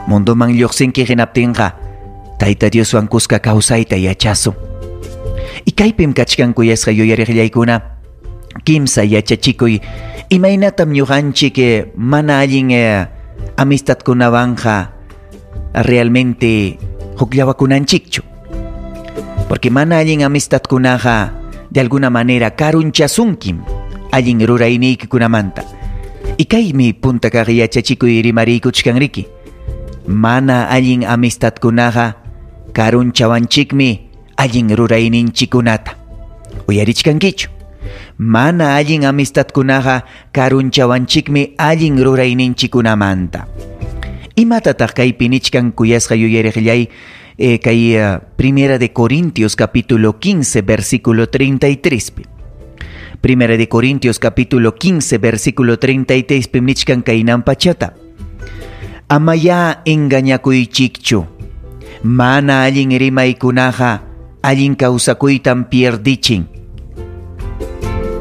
Mundoman lluqsinki hinaptinqa Tayta Dioswan kuska kawsayta yachasun. Y kaypim kachkan, kuyasqa yuyariqllaykuna, kimsa yachachikuy imaynatam ñuqanchik mana allin amistadkunawanqa realmente hukllawakunanchikchu. Porque mana allin amistadkunaqa de alguna manera karunchasunkim allin rurayniykikunamanta. Y kaymi punta kaq yachachikuy rimariykuchkanriki. Mana allin amistadkunaqa karunchawanchikmi allin rurayninchikunata. Uyarichkankichu? Mana allin amistadkunaqa karunchawanchikmi allin rurayninchikunamanta. Imatataq kaypi nichkan, kuyasqa yuyariqllay, kay Primera de Corintios capítulo 15 versículo 33 pi? Primera de Corintios capítulo 15 versículo 33 pi nichkan kaynan pachata: "Amayá engañakuychikchu. Mana allin rimaykunaqa allin kawsakuytam pierdichin."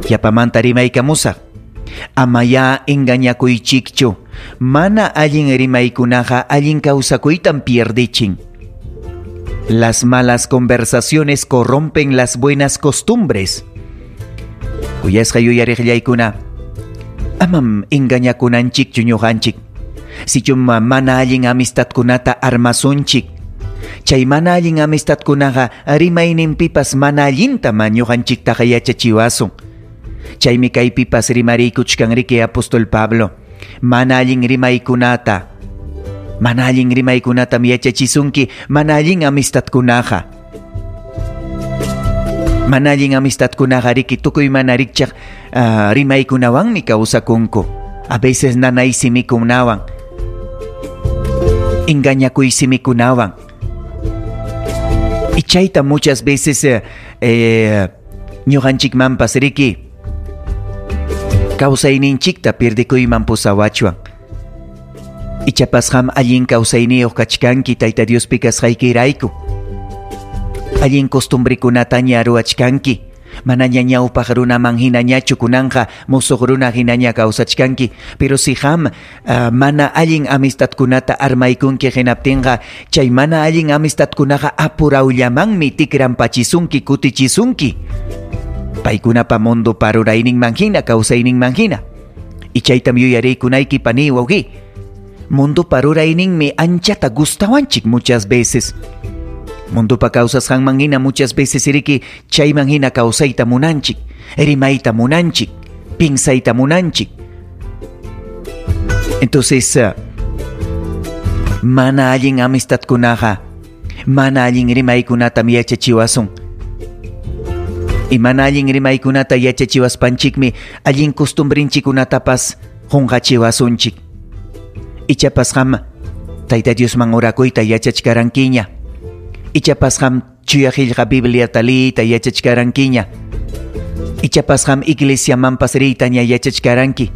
Yapamanta rimaykamusaq. Amayá engañakuychikchu. Mana allin rimaykunaqa allin kawsakuytam pierdichin. Las malas conversaciones corrompen las buenas costumbres. Kuyasqa yuyariqllaykuna, amam engañakunanchikchu ñuqanchik. Sichum mana allin amistadkunata armasunchik, chay mana allin amistadkunaqa rimayninpipas mana allintam ñuqanchiktaqa yachachiwasun. Chaymi kaypipas rimariykuchkanriki apóstol Pablo. Mana allin rimaykunata, mana allin rimaykunatam yachachisunki mana allin amistadkunaqa. Mana allin amistadkunaqa riki tukuy mana rikchaq rimaykunawanmi kawsakunku. A veces nanay simikunawan, engañakuy simikunawan. Y chayta muchas veces ñuqanchikmanpas riki kawsayninchikta pierdikuyman pusawachwan. Ichapas qam allin kawsayniyuq kachkanki Tayta Diospi kasqaykirayku. Allin costumbrekunataña ruwachkanki. Manaña ñawpaq runaman hinañachu kunanqa musuq runa hinaña kawsachkanki. Pero si qam mana allin amistadkunata armaykunki hinaptinqa chay mana allin amistadkunaqa apurawllamanmi tikranpachisunki, kutichisunki. Paykunapa mundo parurayninman hina, kawsayninman hina. Y chaytam yuyariykunayki, pani, wawqi. Mundo parurayninmi anchata gustawanchik muchas veces. Mundopa kawsasqanman hina muchas veces riki chayman hina kawsayta munanchik, rimayta munanchik, pinsayta munanchik. Entonces, mana allin amistadkunaqa mana allin rimaykunatam yachachiwasun. Y mana allin rimaykunata yachachiwaspanchikmi allin costumbrinchikunatapas qunqachiwasunchik. Ichapas qam Tayta Diosman orakuyta yachachkarankiña. Ichapas qam chuya qillqa Bibliata liyta yachachkarankiña. Ichapas qam iglesiamanpas riytaña yachachkaranki.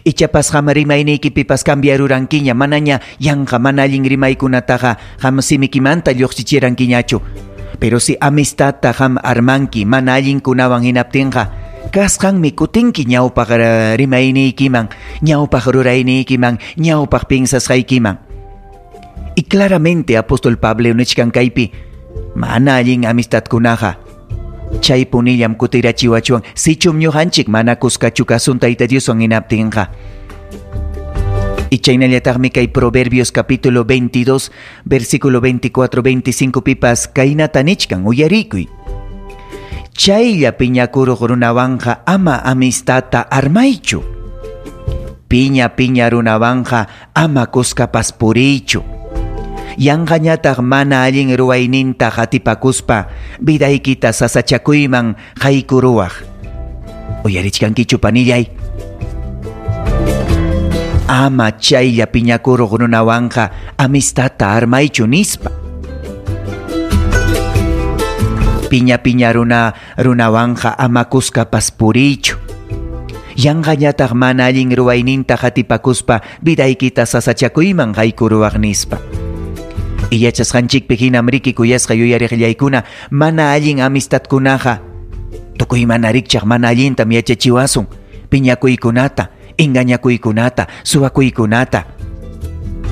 Ichapas qam rimayniykipipas cambiarurankiña, manaña yanqa mana allin rimaykunataqa qam simikimanta lluqsichirankiñachu. Pero si amistadta qam armanki mana allinkunawan hinaptinqa kasqanmi kutinki ñawpaq rimayniykiman, ñawpaq rurayniykiman, ñawpaq pinsasqaykiman. Y claramente apóstol Pablo nichkan kaypi mana allin amistadkunaqa chay punillam kutirachiwachuan sichum ñuqanchik mana kuskachu kasun Tayta Dioswan hinaptinqa. Y chaynallataqmi kay Proverbios capítulo 22 versículo 24 25 pipas kaynata nichkan, uyarikuy. Chaylla piñakuruq runawanqa ama amistadta armaychu. Piña piña runawanqa ama kuskapas puriychu. Yanqañataq mana allin ruwayninta qatipakuspa vidaykita sasachakuyman haykuruwaq. Uyarichkankichu, panillay? Ama chaylla piñakuruq runawanqa amistadta armaychu nispa. Piña piña runawanqa ama kuskapas puriychu. Yanqañataq mana allin ruwayninta qatipakuspa vidaykita sasachakuyman haykuruwaq nispa. Y yachasqanchikpi hinam riki, kuyasqa yuyariqllaykuna, mana allin amistadkunaqa tukuy mana rikchaq mana allintam yachachiwasun. Piñakuykunata, engañakuykunata, suwakuykunata.